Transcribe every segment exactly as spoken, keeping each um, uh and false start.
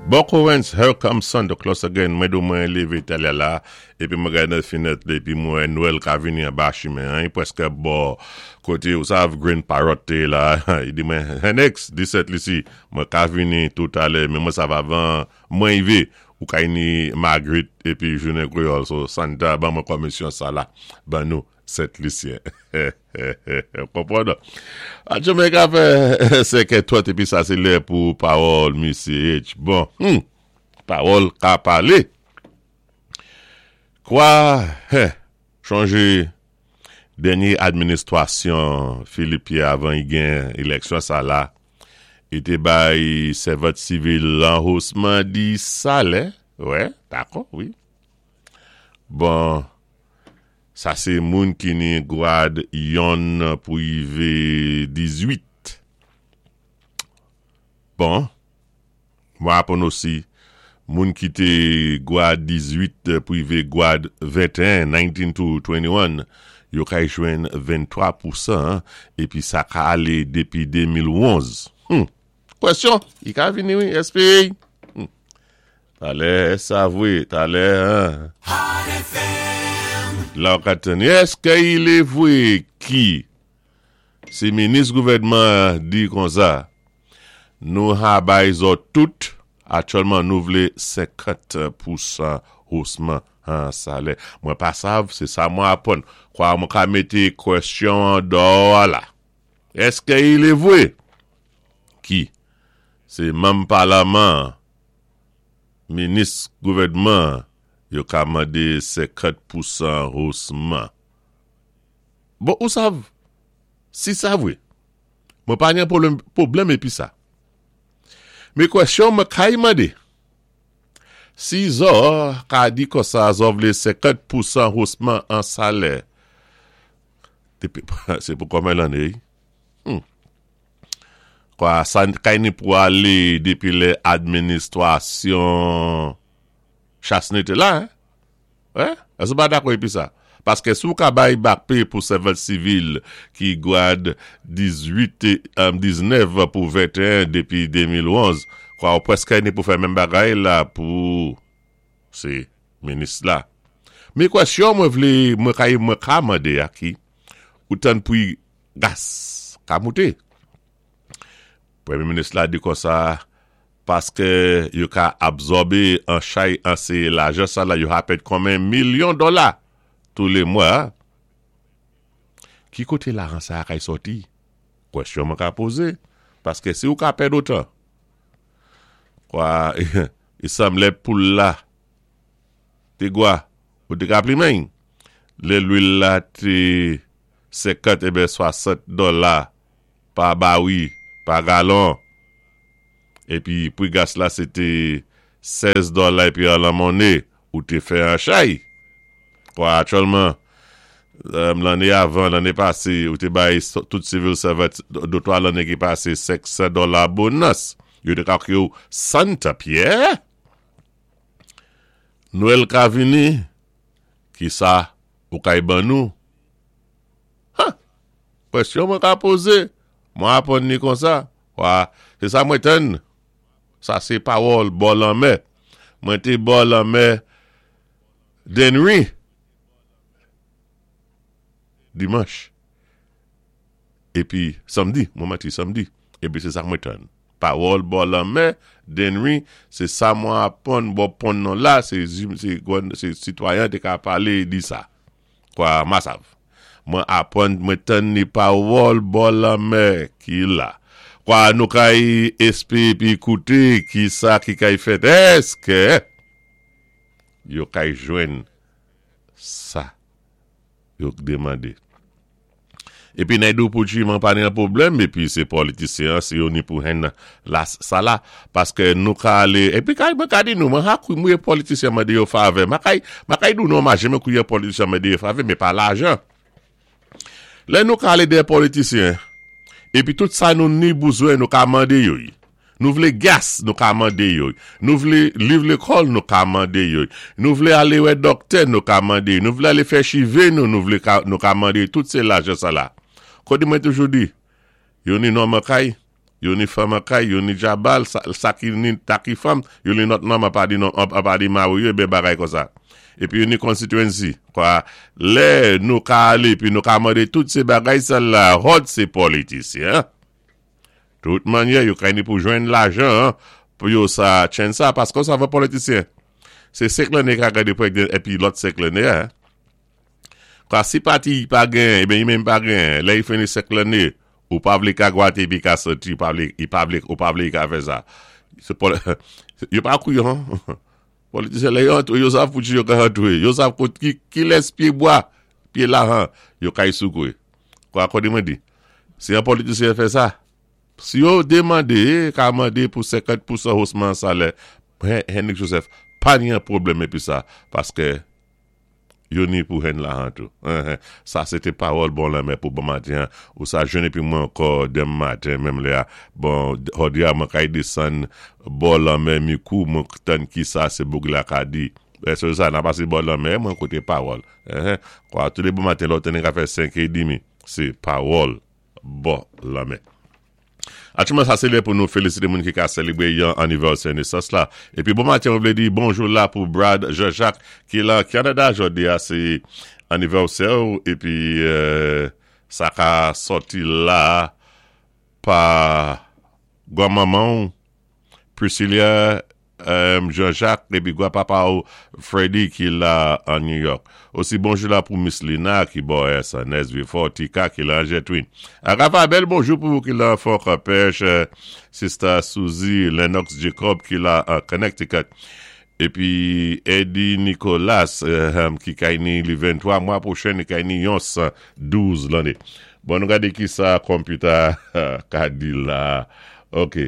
Buck Owens, Here Comes Santa Claus Again. Mwen do mwen lévé talè la, épi mwen gad nan finèt la, épi mwen Nwèl ka vini anba chimen, an, pwèskè bò koté, ou sav Green Parrot té la, i di mwen, Hennex, di Sent Lisi, mwen ka vini toutalè, men mwen sav avan, mwen ivé, ou ka ni Margaret, épi jounen Kwéyòl, so Santa, ban mwen komisyon sa la, ban nou, Sent Lisyen. Konpwann? Aktyèlman ka fè senkè twant épi sa sé lè pou pawòl Missy H. Bon, hmm, pawòl ka palé. Kwa, he, chonjé dènyé administwasyon Philippe Pierre avan i gen éleksyon sa la, i té bay servant sivil an hosman di salè, wè, dakò, wi. Bon, sa sé moun ki ni gwad yonn pou ivé dizuit. Bon, mwen apwann osi, moun ki té gwad dizuit pou ivé gwad ventéen, nineteen to twenty-one, yo kay jwenn venntwa pousan, épi sa ka alé dépi démil onz. Hmm. Kwèsyon, i ka vini wi, S P A. Hmm. Talè, sa vwé, talè, hein. La ou ka tann, èskè i lé vwé ki si minis gouvèdman di konsa, nou ha bay zòt tout, aktyèlman nou vlé senkant pousan hosman an salè. Mwen pa sav, sé sa mwen apwann. Kwa mwen ka mété kwèsyon an dò la. Èskè i lé vwé ki sé manm palaman, minis gouvèdman, yo ka mandé senkant pousan hosman. Bon, ou sav, si sa vwé, mwen pa gen pwoblèm, pwoblèm épi sa. Men kwèsyon mwen kay mandé, si zò ka di konsa zò vlé senkant pousan hosman an salè, sé pou konmen lanné? Hmm. Kwa, sa kay ni pou alé dépi lè administwasyon Chastanet té la, hein? Ouais? Èske pa dakò épi sa? Paské si ou ka bay back pay pou servant sivil ki gwad dizuit, um, diznèf pou ventéen dépi démil onz, kwa ou pwèskè ni pou fè menm bagay la pou sé minis la. Men kwèsyon mwen vlé, mwen kay mwen ka mandé a ki, ou tann pou gas ka mouté. Pwémyé minis la di konsa, paské yo ka absòbé an chay an sé lajan sa la yo ha pèd konmen milyon dola tou lé mwa. Ki koté lajan sa kay sòti? Kwèsyon mwen ka pozé. Paské si ou ka pèd otan, kwa, i sanblé poul la, té gwa, ou té ka plimen, lè lwil la té senkant ébé swasant dola pa bawi, pa galon. Épi pri gas la sé té sèz dola épi an la monné ou té fè an chay. Kwa aktyèlman, lanné avan, lanné pasé, ou té bay tout civil servant dé twa lanné ki pasé senksan dola bonus. Yo té ka yo Santa Pierre. Nwèl ka vini, ki sa ou kay ban nou? Ha! Kwèsyon mwen ka pozé. Mwen apwann ni konsa. Kwa, sé sa mwen tann. Sa sé pawòl bò lanmè. Mwen té bò lanmè Dennery. Dimanch. Épi samdi, mwen manti samdi. Épi sé sa mwen tann. Pawòl bò lanmè Dennery, sé sa mwen apwann bò pon nan la, sé sé sitwayen té ka palé di sa. Kwa ma sav. Mwen apwann mwen tann ni pawòl bò lanmè ki la. Kwa nou kay espé épi kouté ki sa ki kay fèt. Èskè yo kay jwenn sa yo démandé. Épi Naidoo Poutchi mwen pa ni an pwoblèm, épi sé politisyen, sé yo ni pou hen la sa la, paské nou ka alé, épi kay mwen ka di nou, mwen ha kou mwen politisyen mandé yo favè, ma kay, ma kay dou nou ma jeme kouye politisyen mandé yo favè, men pa lajan. Lè nou ka alé dè politisyen, épi tout sa nou ni bouzwen nou ka mandé yo. Nou vlé gas nou ka mandé yo. Nou vlé liv lékòl nou ka mandé yo. Nou vlé alé wè dòktè nou ka mandé. Nou vlé alé fè chivé nou, nou vlé ka, nou ka mandé tout sé lajan sa la. Kòdi mwen toujou di, yo ni nonm an kay, Yo ni fanm an kay, yo ni djabal, sa, sa ki ni taki fanm, yo ni lòt nonm apa di, apa di mari yo, ben bagay konsa. Épi yo ni constituency. Kwa, lè nou ka alé, pi nou ka mandé tout sé bagay sa la, hòt sé politisyen. Tout mannyè, yo kay ni pou jwenn lajan, pou yo sa chen sa, paski sa va politisyen. Sé senk lanné ka gadé pou épi lòt senk lanné, hein. Kwa si pati pa gen, ében, i menm pa gen, lè i fini senk lanné, ou pa vlé ka gwaté pi ka soti, ou pa vlé, i pa vlé, ou pa vlé ka fè sa. Sé pol, yo pa kouyon. Politisyen lè yo antré, yo sav pou yo ka antré, yo sav kot ki, ki lès pyé bwa, pyé lahan, yo kay soukoué. Kwa kòdi mwen di? Si yon politisyen fè sa, si yo demandé, ka mandé pou senkant pousan osman salè, Henrik Joseph, pa ni yon pwoblèm épi sa, paské yo ni pou jwenn lahan tou. Sa sé té pawòl bò lanmè pou bon maten, ou sa jwenn épi mwen ankò denmen maten, menm lè a. Bon, jòdi a mwen kay desann bò lanmè Mikou, mwen tann ki sa sé boug la ka di. Se sa, nan pasé bò lanmè, mwen kouté pawòl. Kwa, tou lé bon maten, lò teni ka fè senk é dmi, sé pawòl bò lanmè. Aktyèlman, sa sé lè pou nou félisité moun ki ka sélébré yon anivèsè nesans la. Épi bon maten, on vlé di bonjou la pou Brad Jean-Jacques ki la Kanada jòdi a, sé anivèsè épi euh, sa ka sòti la pa granmanman Priscilla euh, Jean-Jacques épi papa Freddy ki la an New York. Osi bonjou la pou Miss Lina ki bò S N S Vieux-Fort, Tika ki la Jetwin. Rafa, bèl bonjou pou ki la Fort Pêche, Sister Suzy Lennox Jacob ki la an Connecticut. Épi Eddie Nicolas euh, ki kay ni li venntwa mwa pwochen, kay ni yon douz lanné. Bon, nou gadé ki sa computer ka di la. OK.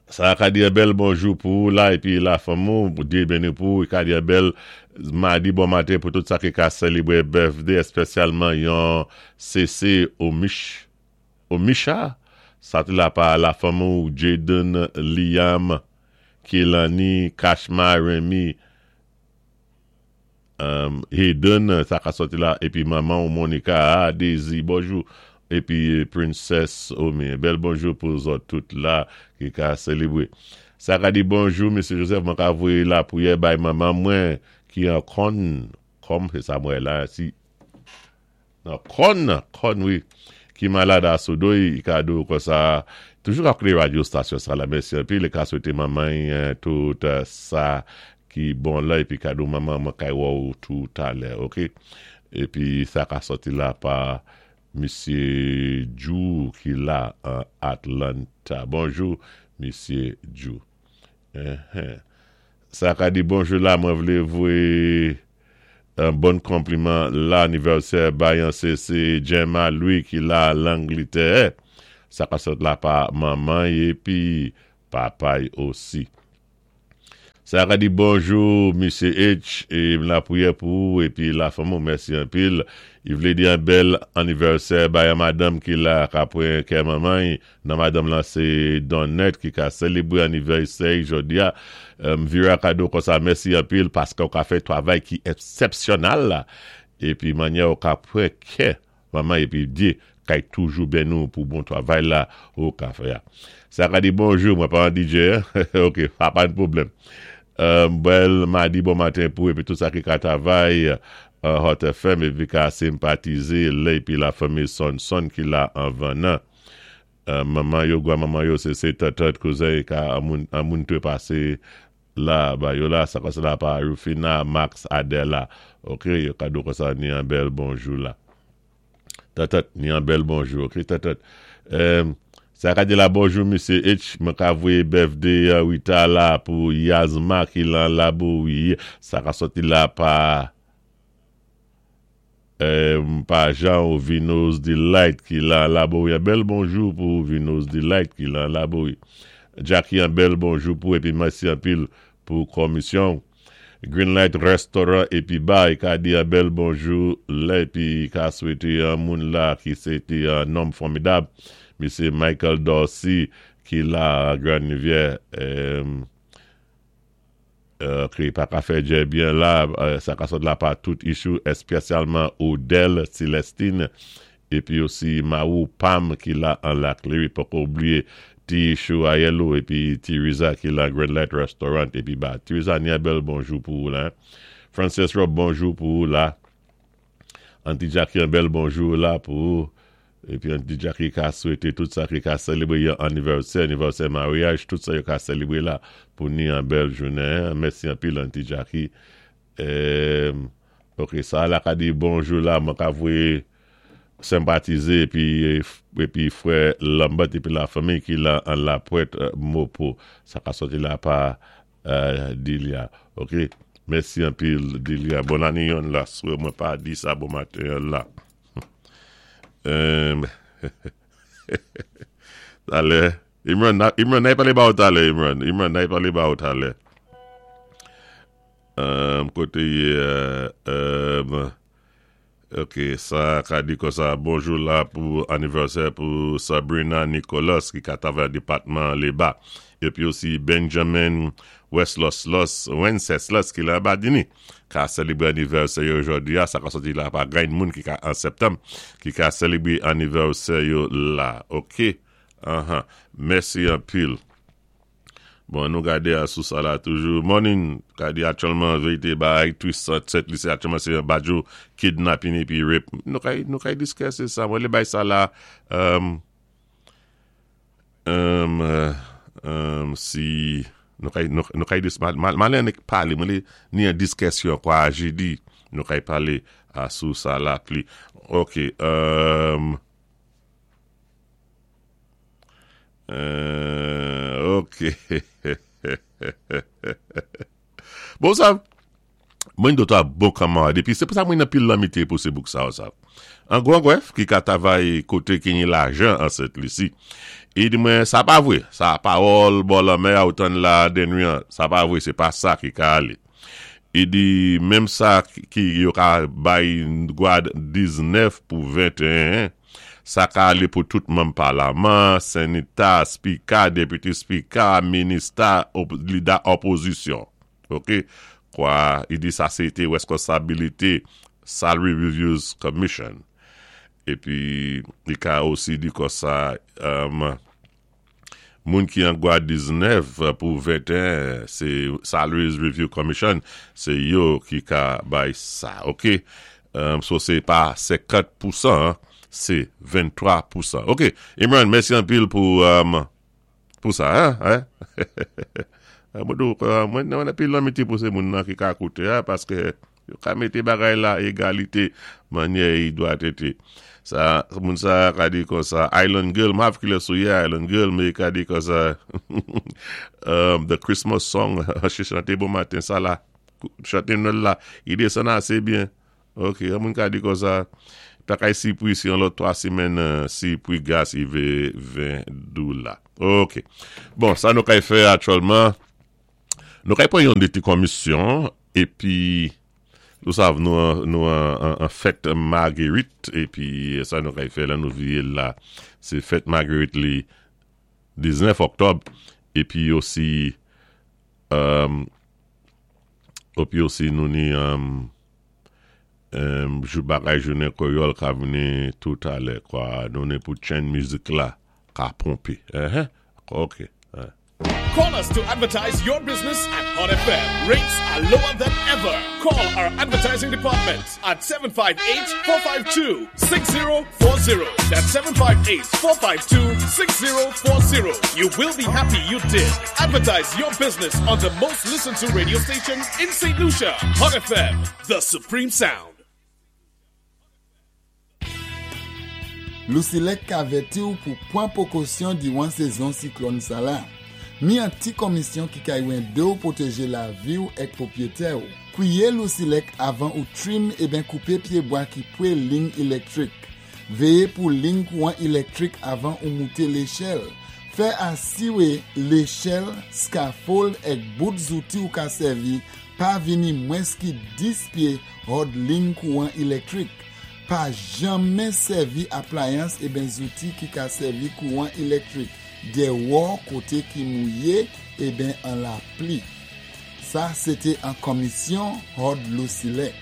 Sa ka di bèl bonjou pou la épi la fanmi, pou Dye béni pou, ka di bèl madi bon maten pou tout sa ki ka sélébré birthday, espesyalman yon C C Omish, Omisha, sa té la pa la fanmi Jaden, Liam, Kelani, Kashma, Remy, um, Hayden, sa ka sòti la, épi manman Monica, ah, Daisy, bonjou, épi Princess Omi, bèl bonjou pou zòt tout la ki ka sélébré. Sa ka di bonjou, Mesye Joseph, mwen ka voyé lapriyè bay manman mwen ki an kon, kòm, sé sa mwen la, si, nan kon, kon, wi, ki malad a Sodoy, ka do konsa, toujou ap koute radyo stasyon sa la, mèsi anpil, li ka swété manman tout sa ki bon la, épi kado manman mwen kay wè ou tout alè, OK? Épi sa ka sòti la pa Mesye Jou ki la an Atlanta. Bonjou, Mesye Jou. Sa ka di bonjou la, mwen vlé voyé un bon konpliman la anivèsè bayan sé sé Gemma Louis ki la Langletè. Sa ka sòt la pa manman épi papa osi. Sa ka di bonjou, Mesye H, é lapriyè pou épi la fanmi, mèsi anpil. I vlé di yon bèl anivèsè bayan madanm ki la ka pran kè manman, nan madanm lan sé Donnet ki ka sélébré anivèsè jòdi a. Vira kado konsa, mèsi anpil paské ou ka fè travay ki eksepsyonèl la. Épi mannyè ou ka pran kè manman épi di kay toujou beni nou pou bon travay la ou ka fè. Sa ka di bonjou, mwen pa an D J, OK, pa pa de pwoblèm. Bèl madi bon maten pou épi tout sa ki ka travay Hot F M épi ka senpatizé lè épi la fanmi Son Son ki la anvan nan. Manman yo, gwa manman yo, sé sé tatat kouzen ka an moun te pasé la, ba yo la, sa konsa la pa Rufina, Max, Adela. OK, yo kado konsa ni an bèl bonjou la. Tatat, ni an bèl bonjou, OK, tatat. Sa ka di la bonjou, Mesye H, mwen ka voyé birthday wita la pou Yazma ki lan Laboui. Sa ka sòti la pa pa Jean ou Vinos Delight ki lan Laboui. Bèl bonjou pou Vinos Delight ki lan Laboui. Jackie, an bèl bonjou pou épi mèsi anpil pou komisyon. Greenlight Restaurant épi bar, ka di an bèl bonjou lè épi ka swété an moun la ki sé té an nonm fòmidab. Mesye Michael Dorsey ki la Grand Rivière ki pa ka fè djè byen la, sa ka sot la pa tout issue, espesyalman Odell Celestine. Épi osi Marou Pam ki la an Lac Leamy, poko oubliyé Ti Chou Ayelou épi Ti Riza ki la Grand Light Restaurant épi ba Ti Riza ni bèl bonjou pou ou la. Frances Rob bonjou pou ou la. Auntie Jackie yon bèl bonjou la pou ou. Épi Auntie Jackie ka swété tout sa ki ka sélébré yon anivèsè, anivèsè maryaj, tout sa yo ka sélébré la pou ni yon bèl jounen. Mèsi anpil Auntie Jackie. Euh, ok, sa la ka di bonjou la, mwen ka voyé senpatizé épi épi frè Lambert épi la fanmi ki la an la Pointe Mopo. Sa ka sòti la pa euh, Delia. Ok, mèsi anpil Delia. Bon ane yon la, swè mwen pa di sa bon maten la. Euh, talè, Imran, Imran, nay palé ba ou talè, Imran. Imran, nay palé ba ou talè. Um, koté euh, euh, ok, sa ka di konsa, bonjou la pou anivèsè pou Sabrina Nicolas ki ka travay depatman Léba. Épi osi Benjamin Wesloslos, Wenceslas ki la Badini, ka sélébré anivèsè yo jòdi a, sa ka sòti la pa gayn moun ki ka an septanm, ki ka sélébré anivèsè yo la. Ok, uh-huh. Mèsi anpil. Bon, nou gadé a sou sa la toujou. Morning, ka di aktyèlman, vérité bay, twist set li sé aktyèlman sé badjo kidnapping épi rape. Nou kay, nou kay diskisé sa. Mwen lé bay sa la, um, um, um, si, nou kay, nou, nou kay dis, mal, mal annik palé, mwen lé ni an diskisyon kwa jedi, nou kay palé a sou sa la pli. Ok, um, Euh, ok. Bon sa, mwen do ta bon kamarad, épi sé pou sa mwen anpil lanmitié pou sé bouk sa ou sa. An gwan gwèf ki ka travay koté ki ni lajan an Sent Lisi. I di mwen, sa pa vwé, sa pawòl bò lanmè a ou tann la denwi an, sa pa vwé, sé pa sa ki ka alé. I di, menm sa ki yo ka bay gwad diznèf pou venteyen, sa ka alé pou tout manm palaman, senita, spika, deputy speaker, minista, op, lida opozisyon. Ok? Kwa, i di sa sé té weskonsabilité Salary Reviews Commission. Épi, i ka osi di konsa, um, moun ki an gwad diznèf pou venteyen, sé Salaries Review Commission, sé yo ki ka bay sa. Ok? Um, so sé pa senkant pousan, sé venntwa pousan. Ok, Imran, mèsi anpil pou, um, pou sa, hein? Hein? Mwen do, mwen mwen anpil lanmitié pou sé moun nan ki ka kouté, hein, paské yo ka mété bagay la égalité manyè i dwa été. Sa, moun sa ka di konsa, Island Girl, m ap ki lè sou ye Island Girl, mé ka di konsa, um, the Christmas song, chi chanté bon maten, sa la, chanté Nwèl la, i désann asé byen. Ok, moun ka di konsa, pa kay si pri si an lòt twa simèn, si pri gas i vé ven dola. Ok. Bon, sa nou kay fè aktyèlman, nou kay pran yon de ti komisyon, épi, nou sav nou nou an, an fèt Marguerite, épi sa nou kay fè la nou vié la, sé fèt Marguerite li diznèf oktòb, épi osi, um, épi osi nou ni, um, um, jou bagay jounen Kwéyòl ka vini tout alè, kwa, nou ni pou chen mizik la ka ponpé. Uh-huh. Ok. Uh. Call us to advertise your business at Hot F M. Rates are lower than ever. Call our advertising department at seven five eight, four five two, six zero four zero. That's seven five eight, four five two, six zero four zero. You will be happy you did. Advertise your business on the most listened to radio station in Saint Lucia. Hot F M, the supreme sound. Lusilek ka avèti ou pou pwan pwékosyon diwan sézon siklòn sa la. Mi an ti komisyon ki ka édé ou pwotèjé lavi ou èk pwopwété ou. Kwiyé Lusilek avan ou trim eben koupé pyébwa ki pwé lign élektrik. Véyé pou lign kouwan élektrik avan ou mouté léchèl. Fè asiwé léchèl, scaffold èk bout zouti ou ka sèvi pa vini mwens ki dis pyé hòd lign kouwan élektrik. Pa janmen sèvi aplayans eben zouti ki ka sèvi kouwan élektrik déwò koté ki mouyé eben an lapli. Sa, sé té an komisyon hòd Lusilek.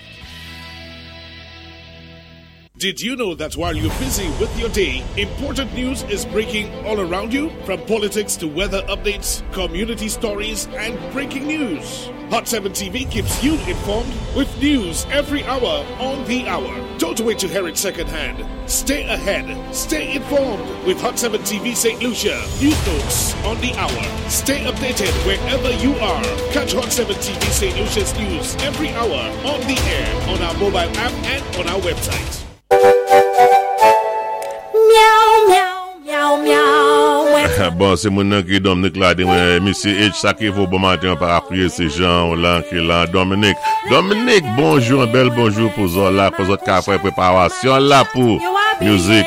Did you know that while you're busy with your day, important news is breaking all around you? From politics to weather updates, community stories, and breaking news. Hot seven T V keeps you informed with news every hour on the hour. Don't wait to hear it secondhand. Stay ahead. Stay informed with Hot seven T V Saint Lucia. News notes on the hour. Stay updated wherever you are. Catch Hot seven T V Saint Lucia's news every hour on the air, on our mobile app, and on our website. Meow, meow, meow, meow. Bon, sé moun nan ki Dominique la, di mwen, Misye H, sa ki fò bon maten pa apriye sé jan ou lan ki lan Dominique. Dominique, bonjou, yon bèl bonjou pou zòt la, pou zòt ka fè préparasyon la pou music.